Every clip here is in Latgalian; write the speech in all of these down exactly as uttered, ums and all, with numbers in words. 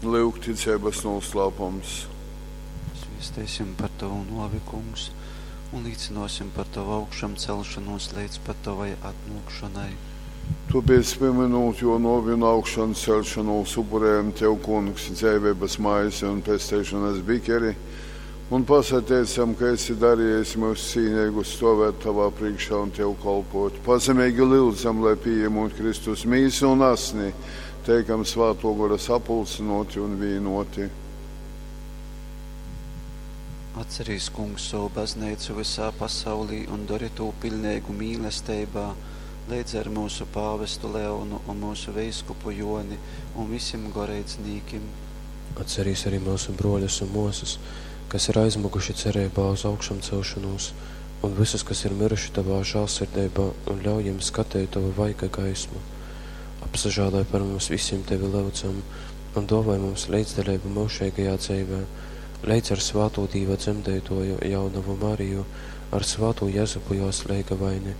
Lyuk ticeibas nūslāpums. Zviesteisim par tovu nōvi, Kungs, un līcynōsim par tovu augšamceļšonūs leidz pat tovai atnōkšonai. Tōpēc, pīmynūt jō nōvi un augšanceļšonūs, upurejam tev, Kungs, dzeiveibas maizi un pesteišonas bikeri, un pasateicam, ka esi darījis myus cīneigus stovēt tavā priekšā un tev kalpot. Pazemeigi lyudzam, lai pījemūt Kristus mīsu un asni, teikam Svātō Gora sapulcynōti un vīnōti. Atcerīs, Kungs, sovu bazneicu vysā pasaulī un dori tū piļneigu mīlesteibā, leidza ar myusu pāvestu Leonu un myusu veiskupu Jōni un visim goreidznīkim. Atcerīs arī myusu brōļus un mōsas, kas ir aizmyguši cereibā uz augšamceļšonūs, un vysus, kas ir myruši tovā žāļsirdeibā, un ļauj jim skateit tova vaiga gaismu. Apsažāloj par mums visim, tevi lyudzam, un dōvoj mums leidzdaleibu myužeigajā dzeivē, leidz ar svātū Dīva dzemdeitōju jaunovu Mariju, ar svātū Jezupu jōs leigavaini,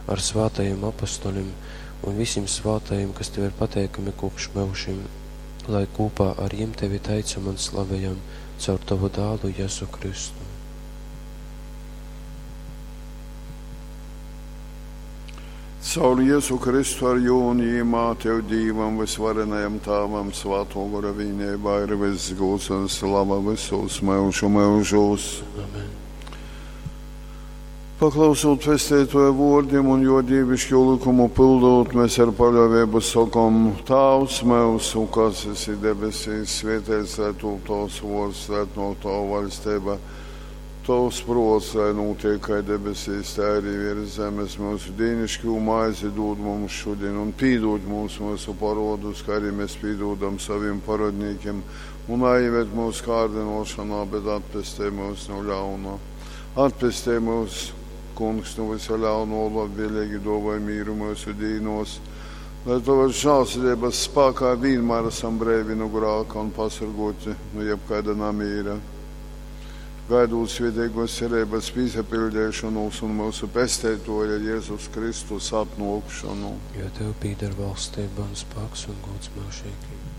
ar svātajim apostolim un visim svātajim, kas tev ir pateikami kopš myužim, lai kūpā ar jim tevi teicam un slavejam caur tovu dālu Jezu Kristu. Caur Jezu Kristu ar jū un jīmā tev Dīvam vysvarenajam Tāvam Svātō Gora vīneibā ir vyss gūds un slava vysūs myužu myužūs. Amen. Paklausūt Pesteitoja vōrdim un jo dīvišķo likumu pildot, mēs ar paļāvību sokom: Tāvs myusu, kas esi debesīs, svētīts lai tūp tavs vōrds, lai atnōk tava vaļstība. Tavs prōts, lai notiek kā debesīs, tā arī virs zemes. Mūsu dīnišķo maizi dod mums šodien un pīdod mums mūsu parodus, kā arī mēs pīdodam saviem parodnīkiem, un neieved mūsu kārdinošanā, bet atpestī mūs no ļauna. Atpestī mūs, Kungs, no visa ļauno, labvēlīgi dāvāj mīru mūsu dīnos, lai tavas žēlsirdības spēkā vienmēr esam brīvi no grāka un pasargoti no jebkāda namīra. Gaidot svētīgos cerības pīsapildīšanos un mūsu pesteitoja Jēzus Kristus atnākšanu. Jo tev pīder valstība un spēks un gods mūžīgi.